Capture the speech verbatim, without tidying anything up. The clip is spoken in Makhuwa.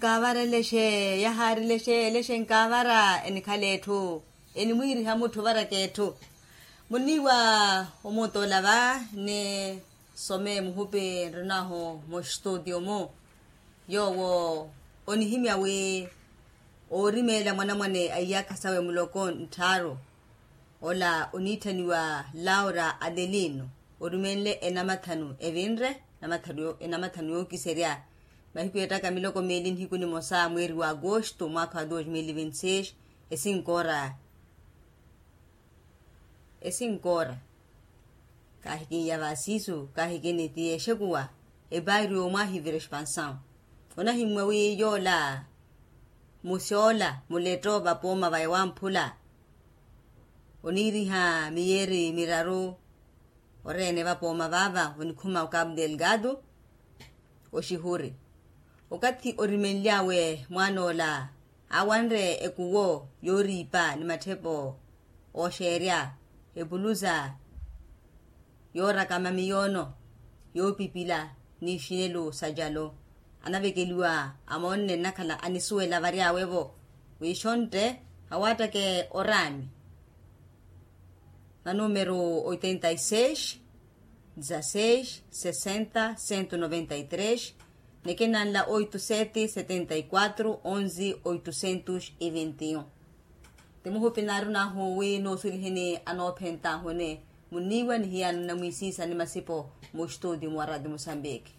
Nkaavara elexe, yahaari elexe elexe nkaavara enikhala etthu, enimwiiriha mutthu ovaraka etthu. Muniiwa omuntoola va, nisome muhupi nrinahu mustutio-mu. Yoowo onihimya wi oorimeela mwanamwane a iyaakha sawe muloko nttharu, ola oniitthaniwa laura adelino, orumenle enamathanu evinre, enamathanu yookiserya. Mahiku ettaka miloko meeli nihiku nimosa mweeri wa agosto mwaakha wa dos mil vinti seis. Esinkoora esinkoora. Kaahikinya vasiisu kaahikini ti exekuwa. Epaari omwaahivira expansaw. Onahimmwa wi yoola musyoola muletto vapooma va ewamphula, oniiriha miyeeri miraru. Oreene vapooma vaava onikhuma okapu delgado oxihuri. Okathi orimenly'awe mwaan'ola aawanre ekuwo yooriipa ni matthepo ooxeerya, epulusa yoorakama miyoono yoopipila n'ixinelu sa calo. Anavekeliwa amoonne nnakhala anisuwela vary'awe-vo wi xontte awaattake oraami. Na numero oitenta y seis, dezasseis sessenta cento noventa y três, nekena nla oito sete setenta y quatro onze oitocentos e vinte y um. Ti muhupi naarunahu wi noosuliheni anoophentahuni muniiwa ni hiyano namwisiisa ni masipo. Mu studio mwa radio mosambiki.